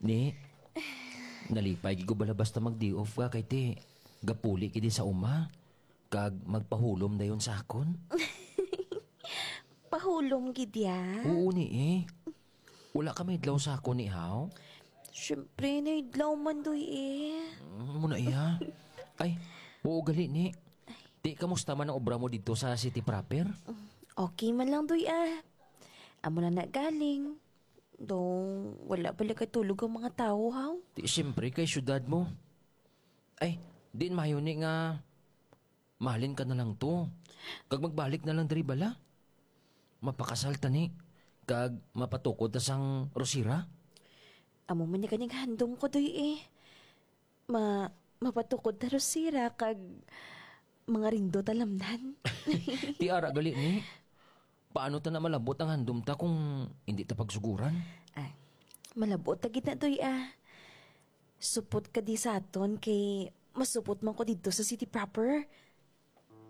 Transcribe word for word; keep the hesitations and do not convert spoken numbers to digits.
Ni, nalipay gid ko bala basta mag-day off ka kay ti gapuli gid sa uma kag magpahulom dayon sa akon. Pahulom gid ya? Oo ni eh. Wala ka maidlaw sa akon ni haw? Siyempre, naidlaw man doy eh. Mm, mo na iya. Ay, oo gali ni. Ti, kamusta man ang obra mo didto sa city proper? Okay man lang doy ah. Amo na na galing. Dong, wala pala katulog ang mga tawo, haw? Ti, siyempre, kay syudad mo. Ay, diin mayo ni nga mahalin ka na lang to. Kag magbalik na lang diri bala. Mapakasal ta ni. Kag mapatukod ta sang rosira. Amo man ni kaning handom ko, doy, eh. Ma, mapatukod ta rosira kag mga rindo talamnan. Ti ara gali ni. Paano ta na malabot ang handom ta kung hindi ta pagsuguran? Ay, malabot ta gid na, doy, ah. Supot ka di sa aton kay masupot man ko didto sa city proper.